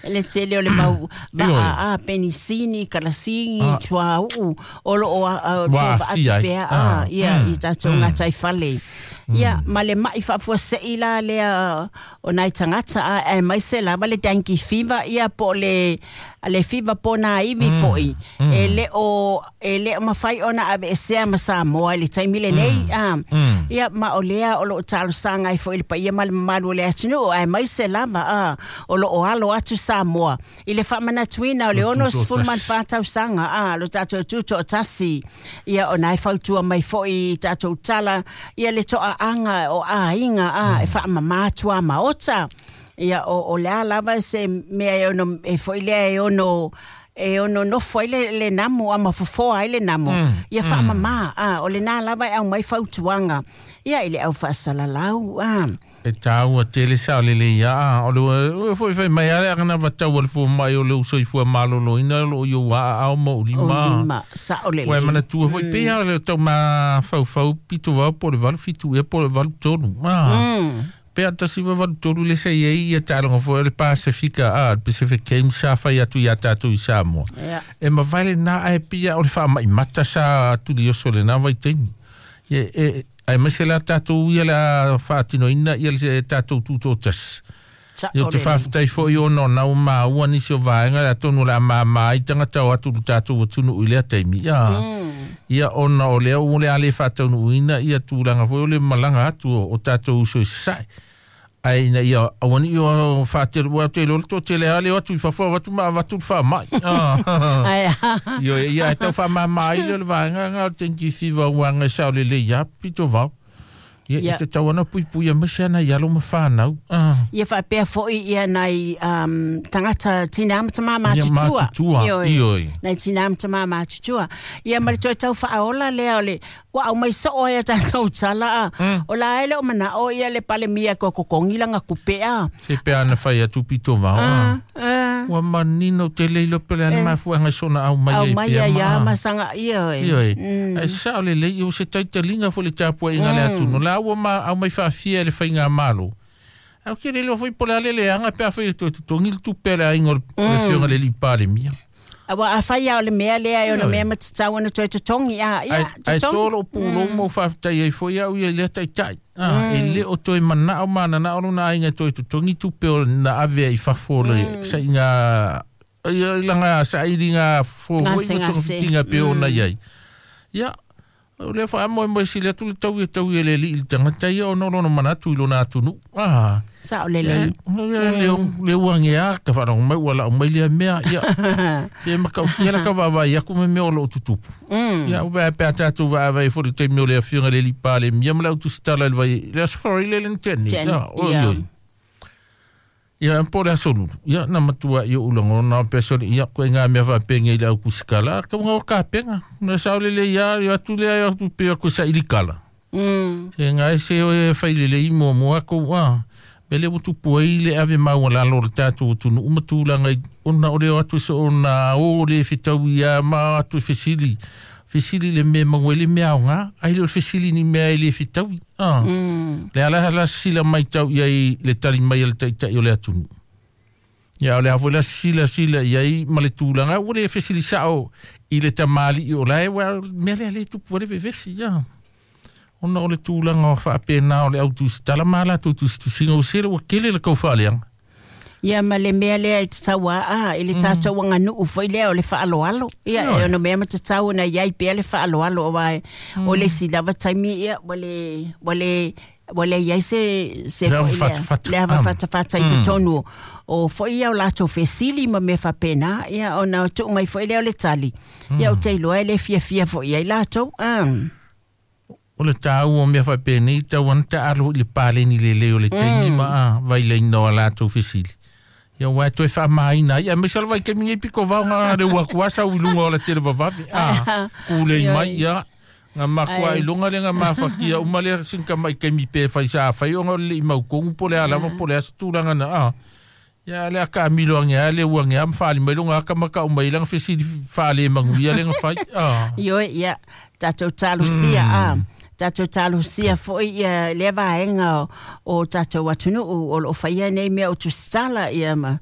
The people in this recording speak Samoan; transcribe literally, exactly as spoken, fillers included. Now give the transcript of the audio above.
Le tele o le mau va'a a penisini, kalasigi, suauu o loo atu pea a ia i tatou gataifale. Ia ma le ma'i faafuasei la lea o nai tagata a aemaise lava le dengue fever ia po o le le fiva po nā ivi fo'i e le o e le o mafai ona aveesea ma Samoa i le taimi lenei a. Ia ma o lea o loo talosaga ai fo'i le paia ma le mamalu o le atunuu aemaise lava a o loo alo atu Samoa i le faamanatuina o le ono sefulu ma le fa tausaga a lo tatou tutoatasi. Ia ona e fautua mai fo'i tatou tala ia le toaaga o aiga a e faamamā tuamaota. Ia o o lea lava se mea e ono e fo'i lea e ono e ono nofo ai le, le namu a mafofoa ai le namu. Ia faamamā a o lenā lava e aumai fautuaga ia i le au faasalalau a. E tāua tele sa o le le ia o le o foi fai mai ale ana vatau o le fomai o le usoifua maloloina lo o iou aao ma o lima. O lima sa o le Ua e manatua foi pei a le tau mafaufau pito vao po o le valu fitu ea po o le valu tolu. Ah. Pe a tasi va valu tolu le sa iai ia taaloga foi o le Pasifika a le Pacific Games sa fai atu iā tatou i Samoa. E mavae lenā ae pia o le faamaʻimata sa tulioso lenā vaitaimi. Ia e aemaise la tatou ia le a faatinoina ia le tatou tutoatasi. Ia ou te faafetai foʻi ona o na ua maua nisi o vaega le atonu o le a māmā ai tagata o atu le tatou atunuu i lea taimi. Ia ia ona o lea ua le a lē faataunuuina ia tulaga foi o le malaga atu o tatou uso i sasae. Ae ina ia auaniʻi o faatelu ua te iloa le toatele a leo atu i fafo avatu ma avatu le faamaʻi. Ioe ia e tau faamāmā ai lea o le vaega aga o le dengue fever uaga e saolelei ia pito vao. Ia Ia. e tatau ana puipui aemaise ana i alo ma fanau. Ah. Ia faapea fo'i ia nai um, tagata tinā ma tamā Ia matutua. matutua, Ioe. ioe. Nai tinā ma tamā matutua. Ia ma le toe tau faaola lea o le ua aumai soo ai a tatou tala a. O la e le o manao ia le palemia ko kokogi laga kupe a. Se pe ana fai atu pito vao. Ah, Ah. ah. Ua manino tele iloa pe le ana mafuaaga i sona aumai Au ai mai pea ai ma. a masaga ioe. Ioe. Ae sao lelei o se taitaliga foi le tapuaiga le atunu. La ua ma aumai faafia e le faigāmalo. Au ke le iloa foi po o le a le leaga pe afai e toe totogi le tupe a le aiga o le o le afioga le alii Palemia. Aua afai a o le mea lea e ona Ioe. mea ma tatau ona toe totogi a. Ia Ae ae totogi. tō lou pulou ma ou faafetai ai foi au ia i lea taitai. Ah, e le o toe manao ma nanao lona aiga e toe totogi tupe o na ave ai i fafo o le saiga ia i laga sailiga fofo foi Gase, ma gase. togafitiga pe ona iai. Ia o lea faamoemoe sili atu le tau ia tau ia le alii i le tagata ia ona o lona manatu i lona atunuu. Ah. Sao lelei. Le le uagea ka faalogo mai ua laʻu mai lea mea ia se makautia la ka vaavaai aku me mea o loo tutupu. Ia ua pe a tatou vaavaai foi le taimi o le afioga le alii Palemia ma le autusitala i le vai le aso Faraile le na tea nei. Teni, Ia oi ia. oi. Ia po o le aso lulu. Ia na matua i oʻu lagona pe soli ia koe ngā mea faapega i le aukusikala kauga o kapega. Na saolelei ia ia atu lea ia atu pe aku saili kala. Mm. Se ngai se o e failelei muamua kou a. Pele ua tupu ai le ave maualalo o le tatou atunuu ma tulaga i ona o le o atu se ona o le fetaui ia ma atu e fesili. Fesili le mea maua ai le mea aogā ai le o le fesili ni mea e le fetaui. Ah. Mm. Le ala la sila mai tau ia i le tali mai a le taitai o le atunuu. Ia o le a foi la sila sila iai ma le tulaga ua le fesili sao i le tamalii o lae ua mea lea le tupu ai le vevesi ia. Ona o le tulaga o faapena o le autusitala ma latou tusitusiga o sele ua kele le kaufaaleaga. Ia ma le mea lea e tatau a a i le tatou aganuu foi lea o le faaloalo. Ia Ioe. e ono mea ma tatau ona iai pea le faaloalo aua e o le isi lava taimi ia ua le ua le ua le iai se se Le foi lea. avafatafata. Le avafatafata i totonu o foi ia o latou fesili ma mea faapena ia ona tuu mai foi lea o le tali. Ia ou te iloa e le fiafia foi ai latou. Ah. O le tāua o mea faapenei tau ana taalo i le paleni lelei o le taimi ma a vailaina o a latou fesili. Ia ua e toe faamāina ai aemaise o le vaitaimi nei pito vao ga le ua atu asa ui luga o le tele vavave. Ah, kulei Ioe. mai ia ga makuaʻi Ai. luga le ga mafakia uma lea sinikamaʻi taimi pe fai sa fai ona o le leʻi maukogu po le a lava po le a se tulaga na a. Ia le akaamilo age a le ua age a ma faali mai loga aka ma kaʻu mai laga fesili faalemaguia lega fai. Ah. Ioe, ia, tatou talosia a. Tatou talosia fo'i ia lea vaega o, o tatou atunuu o loo faia nei mea o tusitala ia ma.